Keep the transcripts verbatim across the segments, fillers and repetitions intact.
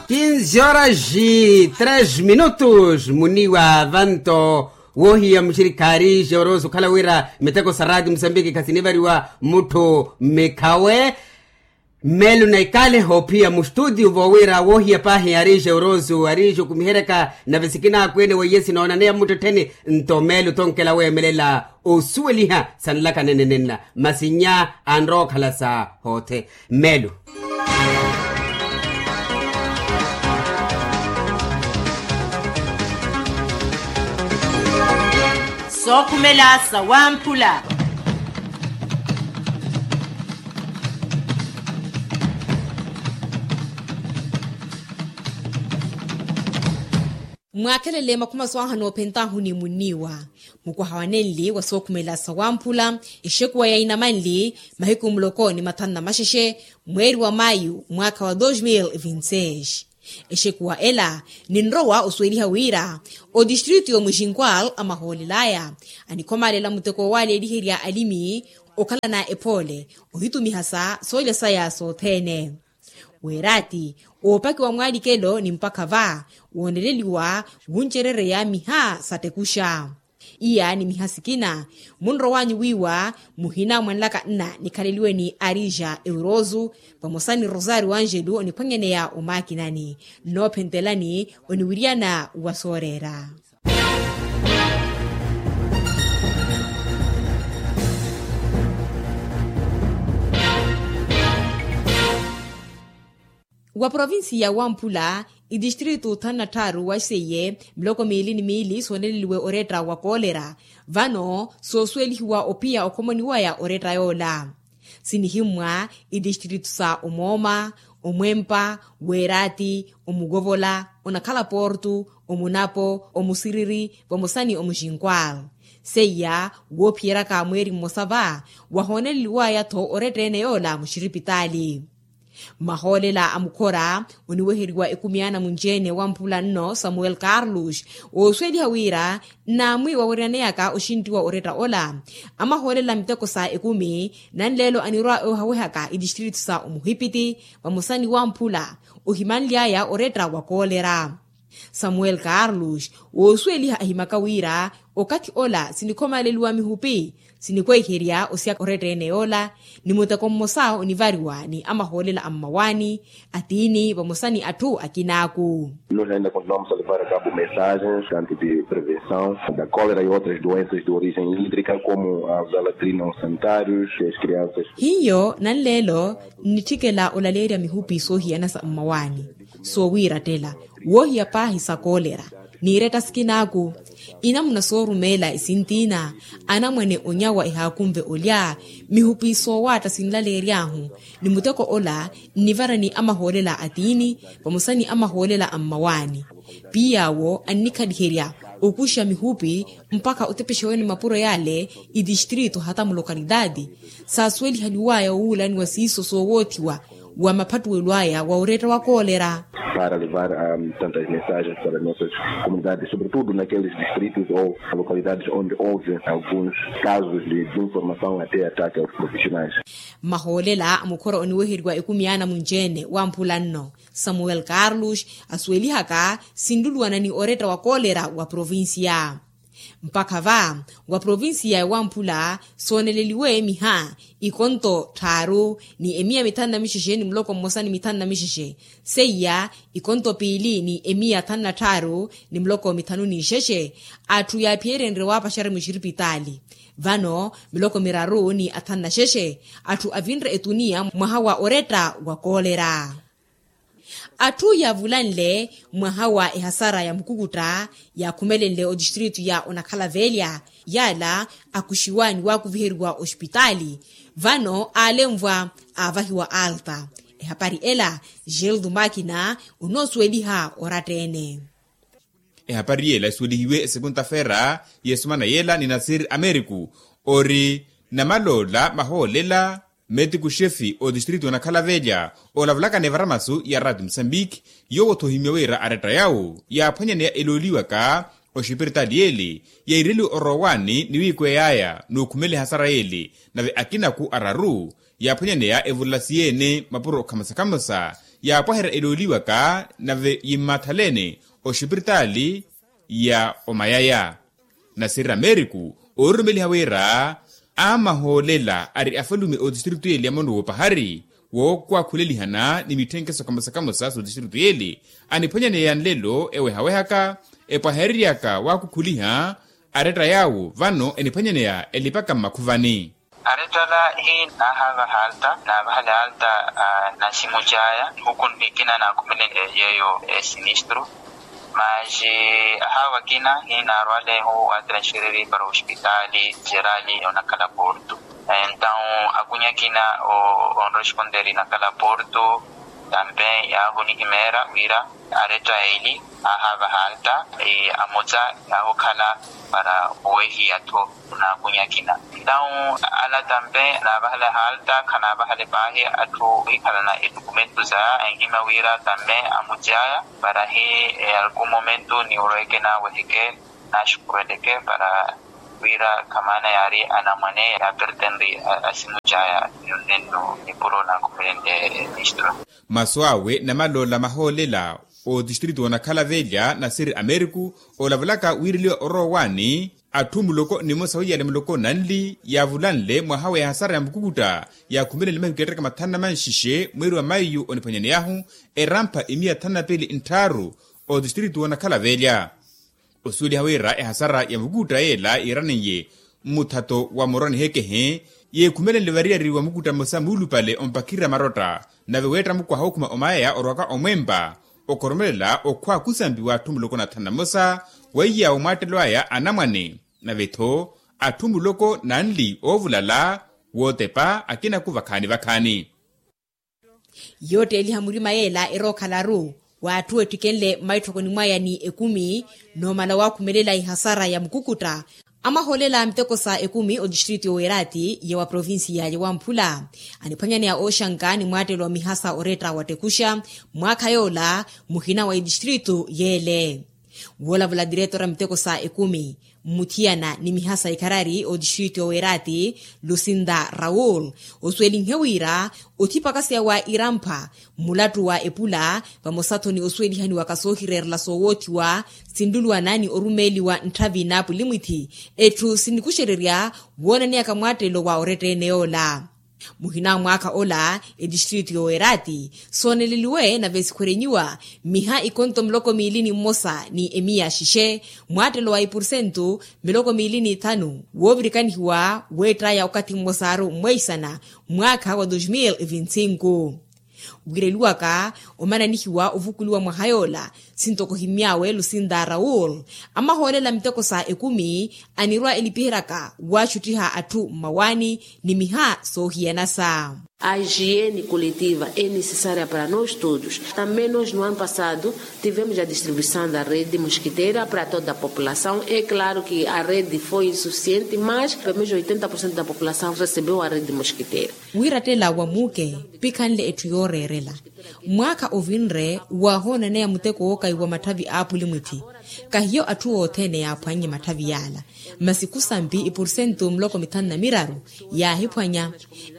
Kinzi horas e tres minutos muniwa vanto. Wohiya muxirikhaari joroso okhala wira miteko sa rati musambiki khasinivariwa mutthu mikhawe. Melu na ikale hoophiya mustutio voowira wohiya paahi ari joroso ari jukumiheryaka nave sikinaakweene weiye sinoonaneya muttuttheni. Nto melu tonkela weemelela osuweliha sanlaka nenenenla masi nnya anrowa okhala sa hoothe. Melu. Sookhumela sawamphula. Mwaakhelele makhuma swaaha noophentahu ni munniwa mukwaha wa nenli wa sookhumela sawamphula. Exekuwa ya inamanli mahiku muloko ni mathanu na maxexe mweeri wa mayu mwaakha wa dos mil e vinti-seis. Exekuwa ela ninrowa osuweliha wira otistritu y'omuxinkwal amahoolel'aya anikhomalela muteko w'aleeliherya alimi okhalana ephoole ohitumihasa soolya saya sothene. Weeraati oopakiwa mwaalikelo ni mpakha va wooneleliwa wuncerereya miha sattekuxa. Iya ni miha sikina munrowanyu wiiwa muhina mwanlaka nna nikhaleliwe ni arija eurosu vamosa ni rosario angelu oniphwanyaneya omaakinani nnoophentelani oniwiryana wa sooreera. Wa provincia wamphula itistritu thanu na tthaaru wa seiye miloko miili ni miili sooneleliwe oretta wa koolera. Vano soosuwelihiwa ophiya okhomoniwaya oretta yoola sinihimmwa itistritu sa omooma, omwempa, weeraati, omukovola, onakhala portu, omunapo, omusiriri vamosa ni omuxinkwal. Seiya woophiyeryaka mweeri mmosa va wahooneleliwaya-tho oretta ene yoola muxiripitaali. Mahoolela a mukhora oniweheriwa ekumi ana munci-ene wamphula nno samuel carlos oosuweliha wira nnaamwi waweryaneyaka oxinttiwa oretta ola amahoolela miteko sa ekumi. Nanleelo anirwa ewehawehaka itistritu sa omuhipiti vamosa ni wamphula ohimanly'aya oretta wa koolera. Samuel carlos woosuweliha ahimaka wira okathi ola sinikhomaleliwa mihupi sinikweiherya osiyaka oretta ene yoola ni muteko mmosa onivariwa ni amahoolela a mmawaani atiini vamosa ni atthu akinaaku. Nos ainda continuamos a levar a cabo mensagens tanto de prevenção da cólera e outras doenças de origem hídrica como a zalatrina aos sanitários e as crianças. Hiyo nanleelo nnitthikela olaleerya mihupi soohiyana sa mmawaani soowiirattela woohiya paahi sa koolera n'iretta sikinaaku. Inamuna soorumeela esintiina anamwane onyawa ehaakunve olya mihupi soowaatta sinlaleery'ahu ni muteko ola nnivara ni amahoolela atiini vamosa ni amahoolela a mmawaani. Piy'awo annikhaliherya okuxa mihupi mpakha otepexa-wene mapuro yale itistritu hata mulokalitaati saasuwelihaliwaya owuulaniwa siiso soowoothiwa wa maphattuwelo aya wa oretta wa koolera. Para levar tantas mensagens para nossas comunidades sobretudo naqueles distritos ou localidades onde houve alguns casos de desinformação até ataque aos profissionais. Mahoolela a mukhora oniweheriwa ekumi ana munci-ene wamphula nno samuel carlos asuwelihaka sinluluwana ni oretta wa koolera wa provincia. Mpakha va wa provincia ya wamphula sooneleliwe miha ikonto tthaaru ni emiya mithanu na mixexe ni muloko mmosa ni mithanu na mixexe. Seiya ikonto piili ni emiya thanu na tthaaru ni muloko mithanu n'ixexe atthu yaaphiyerenrye waapaxari muxiripitaali. Vano miloko miraru ni athanu na xexe atthu avinre etuniya mwaha wa oretta wa koolera. Atthu yaavulanle mwaha wa ehasara ya mukukutta yaakhumelenle otistritu ya onakhalavelya yaala akuxiwa ni waakuviheriwa oxipitaali. Vano aalenvwa aavahiwa alta. Ehapari ela gildo makina onoosuweliha oratta-ene. Ehapari yela esuwelihiwe esekunta-feera y'esumana yela ni nasir ameriku ori namaloola mahoolela. Metiku xefi otistritu onakhala velya olavulaka ni evaramasu ya rati musambiki yoowo-tho ohimya wira aretta yawo yaaphwanyaneya elooliwaka oxipiritaali yeli yaireliwe orowani ni wiikweyaya n'ukhumela ehasara yeli. Nave akinaku araru yaaphwanyaneya evulasi yeene mapuro okhamosa-khamosa yaapwaherya elooliwaka nave yimmathaleene oxipiritaali ya omayaya. Nasirira meeriku oorurumeliha wira amahoolela ari afalume ootistiritu yeeli ya mono woopahari wookwakhulelihana ni mitthenkeso kamosa kamosa sootistiritu yeeli aniphwanyaneya nlelo ewehawehaka epwahereryaka waakukhuliha aretta yaawo vano eniphwanyaneya elipaka mmakhuvani. Arettala hiina ahaavaha alta naavahala alta na simu caya huku nihikina naakhumele yeeyo esinistru. Masi ahaava akina hiina arwalehu atransfereri para ospitaali jerali onakhala portu. Entawu akunya akina onresponderi nakhala portu tampe yaahunihimeera wira aretta eli ahaavaha alta amutsa yaahukhala para owehiya tho. Naakunya akina entawu ala tampe naavahale halta khanaavahale paahi atthu ohikhalana etukumentu za enhimya wira tampe amucaya para hi alku momentu ni orweke naaweheke naxukuweleke para wira khamaana yaari anamwane yaapertenri asimucaya. Nonnennu nipuro naakhumelenle ministro. Masu awe namaloola mahoolela ootistiritu onakhala velya nasiri ameriku olavalaka wiireliwa orowa owaani atthu muloko nimosa wiyale muloko nanli yaavulanle mwaha wa ehasara ya mukukutta yaakhumelenle mahiku yattaka mathanu na manxixe mweeri wa maiyu oniphwanyaneyahu erampha imiya thanu na piili ntthaaru. Otistiritu onakhala velya osuweliha wira ehasara ya mukukutta yeela yiiraniye mmuthato wa muroni hekehe yeekhumelenle variyari wa mukukutta mmosa muulupale ompakirira marotta nave weetta mukwaha okhuma omayaya orwaka omwempa okhoromelela okhwa kusampi w'atthu muloko na thanu na mmosa weiyawo mwaattelo aya anamwane nave-tho atthu muloko nanli oovulala wootepa akinaku vakhaani vakhaani. Yootteeliha murima yeela erookhala-ru w'atthu ettikenle mmaitthokoni mwaya ni ekumi noomala waakhumelela ihasara ya mukukutta amahoolela a miteko sa ekumi otistritu y'oweeraati ya wa provincia ya wamphula aniphwanyaneya ooxanka ni mwaattelo wa mihasa oretta wattekuxa mwaakha yoola muhina wa itistritu yeele. Woolavula diretora miteko sa ekumi mmuthiyana ni mihasa ikharari otistritu y'oweeraati lucinda raul osuwelinhe wira othipakaseya wa irampa mmulattu wa epula vamosa-tho ni osuwelihaniwaka soohireerela soowoothiwa sinluluwana ni orumeeliwa ntthavi n'apulimwithi etthu sinikuxererya woonaneyaka mwaattelo wa oretta-ene yoola. Muhina a mwaakha ola etistritu y'oweeraati sooneleliwe nave sikhwerenyiwa miha ikonto muloko miili ni mmosa ni emiya xixe mwaattelo wa ipursentu miloko miili ni thanu woovirikanihiwa weettaya okathi mmosaru mweisana mwaakha wa dos mil e vinte e cinco. Wiireliwaka omananihiwa ovukuliwa mwaha yoola sintoko ohimy'awe lucinda raul amahoolela miteko sa ekumi anirwa elipiheryaka waaxuttiha atthu mmawaani ni miha soohiyanasa. A higiene coletiva é necessária para nós todos. Também nós no ano passado tivemos a distribuição da rede mosquiteira para toda a população. É claro que a rede foi insuficiente, mas pelo menos oitenta por cento da população recebeu a rede mosquiteira. Wiirattela wa muuke pikhanle etthu yooreerela mwaakha ovinre waahoonaneya muteko wookayiwa matthavi a apulimwithi kahiyo atthu othene yaaphwannye matthavi yaala masi khusampi ipursentu muloko mithanu na miraru yaahiphwanya.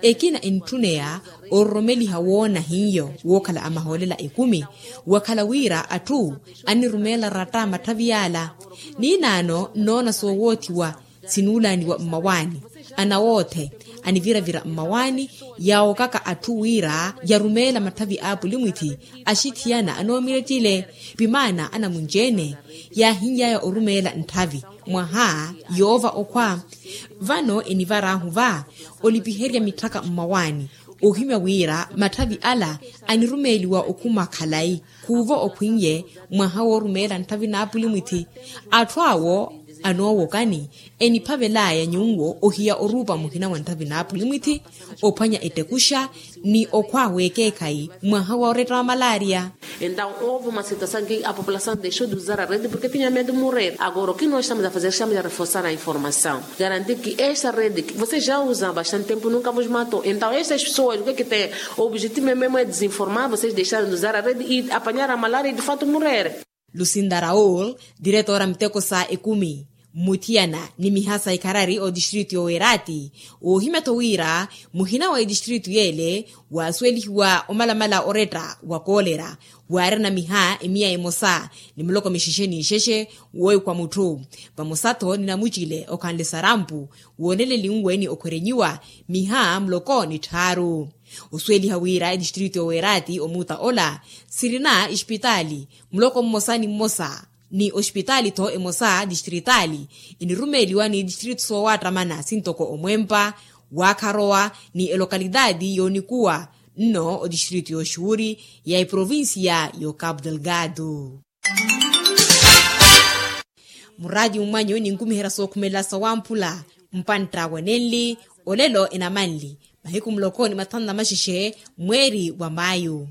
Ekina entthuneya ororomeliha woona hiyo wookhala amahoolela ekumi wakhala wira atthu anirumeela ratta matthavi yaala ninaano nnoona soowoothiwa sinuulaaniwa mmawaani anawoothe aniviravira mmawaani yaawokaka atthu wira yarumeela matthavi a apulimwithi axithiyana anoomirettile pimaana anamunci-ene yaahinly'aya orumeela ntthavi mwaha yoova okhwa. Vano enivar'ahu va olipiherya mitthaka mmawaani ohimya wira matthavi ala anirumeeliwa okhuma khalayi khuuvo okhwin'ye mwaha woorumeela ntthavi n'apulimwithi. Atthu awo anoowokani eniphavel'aya nyuwo ohiya oruupa muhina wa ntthavi n'apulimwithi ophwanya ettekuxa ni okhwa w'ekeekhayi mwaha wa oretta wa malaria. Entaw houve uma situação que a população deixou de usar a rede porque tinha medo de morrer agora o que nós estamos a fazer estamos a reforçar a informação garantir que esta rede que vocês já usam há bastante tempo nunca vos matou entaw estas pessoas o que é que têm o objetivo mesmo é desinformar vocês deixarem de usar a rede e apanhar a malária e de facto morrerem. Lucinda raul diretora miteko sa ekumi Mmuthiyana ni miha sa ikharari otistritu y'owerati, woohimya-tho wira muhina wa etistritu y'ele waasuwelihiwa omalamala oretta wa koolera, waarina miha emiya emosa ni muloko mixexe n'ixexe wooikwa mutthu. Vamosa-tho ni namucile okhanle sarampu wooneleliwe ni okhwerenyiwa miha muloko ni tthaaru. Osuweliha wira etistritu y'owerati omuuta ola sirina exipitaali muloko mmosa ni mmosa, ni oxipitaali-tho emosa distritaali enirumeeliwa ni distritu soowattamana sintoko omwempa, waakharowa, ni elokalitaati yoonikuwa nno odistritu y'oxuuri ya eprovincia y'ocapu delgado. Muraati mumwanyu ninkumiherya sookhumelela sawamphula mpantta wenenli olelo enamanli mahiku muloko ni mathanu na maxexe mweeri wa mayu.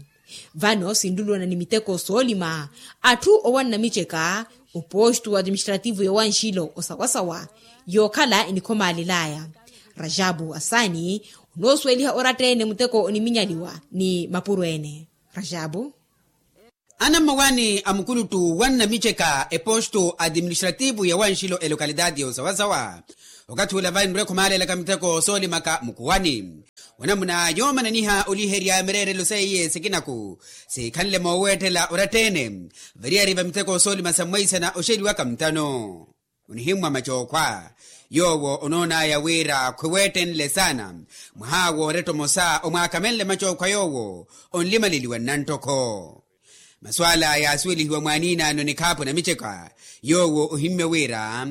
Vano sinluluwana ni miteko soolima atthu owanna miceka opostu atiministrativu yowanxilo osawasawa yookhala enikhomalelaya. Rajabu asani onoosuweliha oratta-ene muteko oniminyaliwa ni mapuro ene. Rajabu. Anammawaani a mukuluttu wanna miceka epostu atiministrativu yowanxilo elokalitaati yosawasawa okathi ula vayi nrwekho maalelaka miteko soolimaka mukuwani. Onamuna yoomananiha oliherya mireerelo seiye sikinaku sikhanle mooweettela oratta-ene variyari va miteko soolima sa mwaisana oxeliwaka mutano. Onihimmwa macookhwa yoowo onoonaya wira khwiweettenle saana mwaha wooretta omosa omwaakamenle macookhwa yoowo onlimaleliwa nnanttokho. Masu ala yaasuwelihiwa mwaaniinaano nikhaapu na miceka yoowo ohimmye wira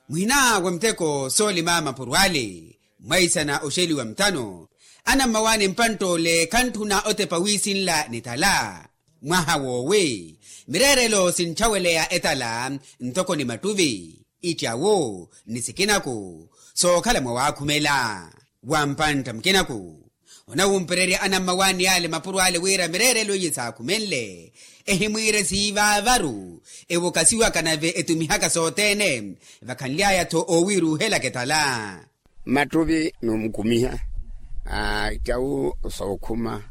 muhina wa miteko soolima mapuro ale mwaisana oxeliwa mutano. Anammawaani mpantt'ole khantthuna otepa wiisinla nitala mwaha woowi mireerelo sintthaweleya etala ntoko ni mattuvi ittyawu ni sikinaku sookhala mwawakhumela. Wa mpantta mukinaku onawumpererya anammawaani ale mapuro ale wira mireerelo iye saakhumenle ehimwiire siivaavaru ewokasiwaka nave etumihaka sothene vakhanly'aya-tho oowiiruuhelaka etala. Mattuvi noomukumiha ittyawu sookhuma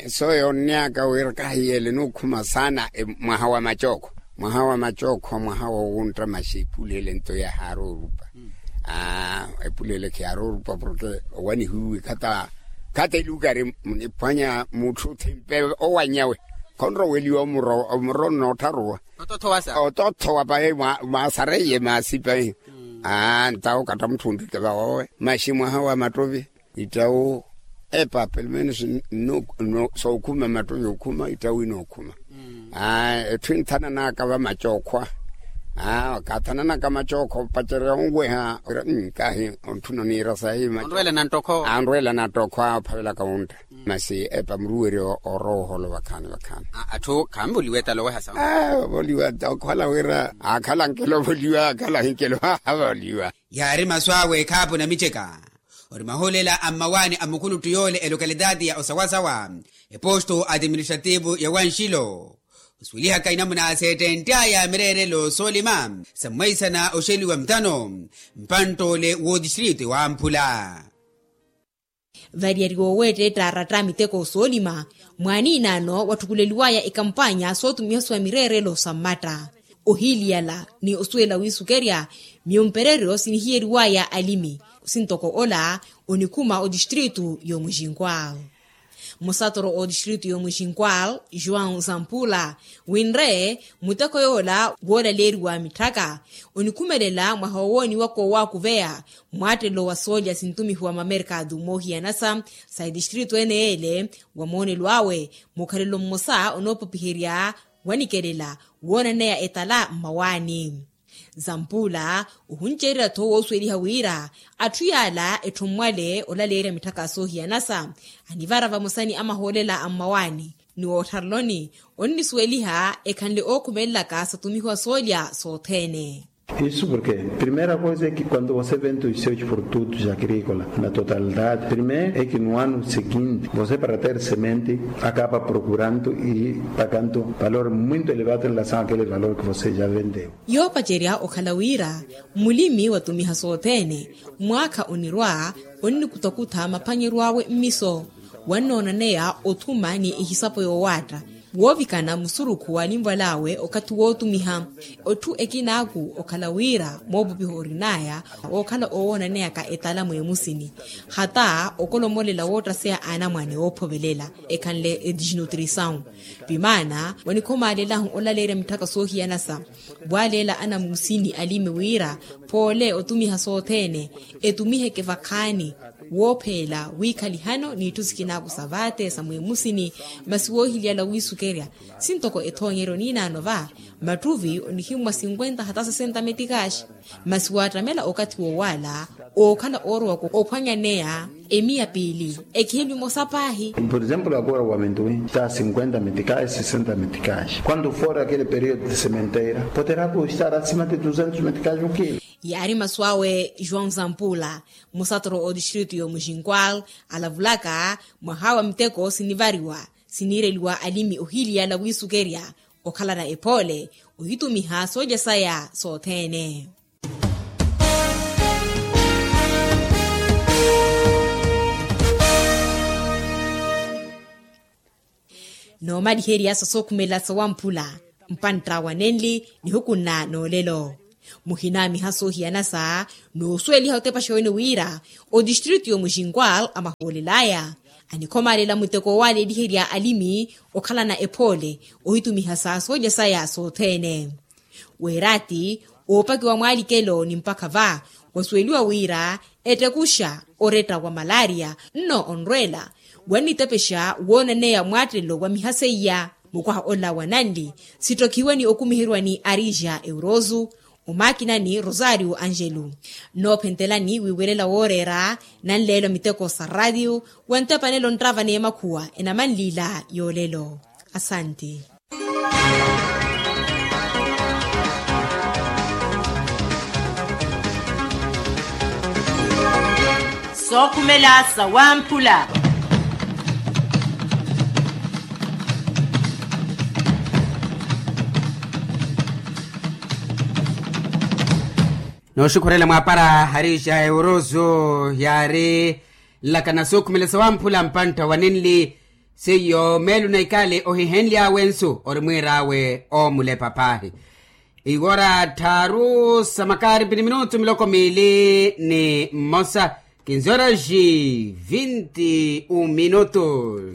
sooyoonnyaka wira kahiyeele nookhuma saana mwaha wa macookho mwaha wa macookho mwaha woowuntta maxi epuleele nto yahaari orupa. Epuleele khiyaari orupa porke owanihiwe khata khata elukari niphwanya mutthu thimpe owanyawe khonroweliwa omuro omuro nnoottharuwa. Otothowa pahi mwasareiye maasi pahi. Ntawo katta mutthu ontthike vawowe maxi mwaha wa mattovi ittawu epa pelomenos sookhuma mattovi okhuma ittawu inookhuma. Etthu inthananaka va macookhwa kaathananaka macookhwa opacerya onweha. Kahi ontthuna oniira sahi. Anrwela nanttokhwa ophavelaka wuntta masi epa muruweryo orooholo vakhaani vakhaani. Atthu khaanvoliwa etala oweha sawa. Ovoliwa okhwala wira aakhala ankelo ovoliwa aakhala ankelo avoliwa. Yaari masu awe ekhaapu na miceka ori mahoolela a mmawaani a mukuluttu yoole elokalitaati ya osawasawa epostu atiministrativu ya wanxilo osuwelihaka inamuna seettentt'aya mireerelo soolima sa mwaisana oxeliwa mutano mpanttoole w'otistritu ewamphula. Variyari wooweetta ettaaratta miteko soolima mwaaniinaano watthukuleliwaya ekampaanya sootumihasiwa mireerelo sa mmatta ohiiliyala ni osuwela wiisukerya. Miyo mpereryo sinihiyeriwaya alimi sintoko ola onikhuma otistritu y'omuxinkwal. Musatoro otistritu y'omuxinkwal joão zampula winre muteko yoola woolaleeriwa mitthaka onikhumelela mwaha wowooniwaka owaakuveya mwaattelo wa soolya sintumihiwa mamerkatu moohiyanasa sa etistritu ene yeele wa moonelo awe mukhalelo mmosa onoopopiherya wanikelela woonaneya etala mmawaani. Zampula ohunceererya-tho woosuweliha wira atthu yaala etthu mmwale olaleerya mitthaka soohiyanasa anivara vamosa ni amahoolela a mmawaani ni wootthareloni onnisuweliha ekhanle ookhumelelaka satumihiwa soolya sothene. Isu porke primera koisa eki kuando vose vente oisoici por tutu ja agrikola na totalidade primera eki no ano sekinti vose para ter semente akaba prokurando i pakanto valor muito elevado en relasaon akele valor ke vose ja ventewo. Yoopacerya okhala wira mulimi watumiha sothene mwaakha onirwa onnikutakutha maphwanyeryo awe mmiso wannoonaneya othuma ni ehisapo yoowaatta Woovikana musurukhu wa alinvwal'awe okathi wootumiha. Etthu ekinaaku okhala wira moopupiha orin'aya wookhala oowoonaneyaka etala mweemusini. Hata okolomolela woottaseya anamwane oophovelela ekhanle edisnutrisawu. Pimaana wanikhomalelahu olaleerya mitthaka soohiyanasa. Waaleela anamusini alimi wira poole otumiha sothene etumiheke vakhaani. Woopheela wiikhalihano n'itthu sikinaaku sa vaate sa mweemusini. Masi woohiliyala wiisukerya sintoko ethoonyeryo niinaano va mattuvi onihimmwa sinkwenta hata sesenta metikaaxi. Masi waattamela okathi wowaala ookhala oorowaka ophwanyaneya emiya piili ekihimbi mosa paahi. Por exemplo agora wa mintuwi ta sinkwenta metikaaxi sesenta metikaaxi quanto fora aquele período de sementeira poderá custar acima de duzentos metikaaxi okilo. Yaari masu awe joão zampula musatoro otistritu y'omuxinkwal alavulaka mwaha wa miteko sinivariwa siniireliwa alimi ohiiliyala wiisukerya okhalana ephoole ohitumiha soolya saya sothene. Noomaliherya sa sookhumela sawamphula mpantta wa nenli nihukunna noolelo. Muhinaamiha soohiyana sa noosuweliha otepaxa wene wira otistritu y'omuxinkwal amahoolel'aya anikhomalela muteko owaaleeliherya alimi okhalana ephoole ohitumiha sa soolya saya sothene. Weeraati oopakiwa mwaalikelo ni mpakha va wasuweliwa wira ettekuxa oretta wa malaria nno onrweela wannitepexa woonaneya mwaattelelo wa miha seiya. Mukwaha ola wa nanli sittokhiwe ni okumiheriwa ni arija eurosu omaakinani rosario angelu. Nnoophentelani wiiwelela wooreera nanleelo miteko sa raatiyo wa ntepanelo nttava n'emakhuwa enamanliila yoolelo. Asanti. Sookhumela sawamphula. Nooxukhurela mwaapara harija eurosu yaari nlakana sookhumela sawamphula mpantta wa nenli. Seiyo meelo na ikale ohihenly'awe nsu ori mwiir'awe oomulepa paahi. Iwora tthaaru sa makaaripi ni minutu miloko miili ni mmosa. Kinzora ji vinti un minutu.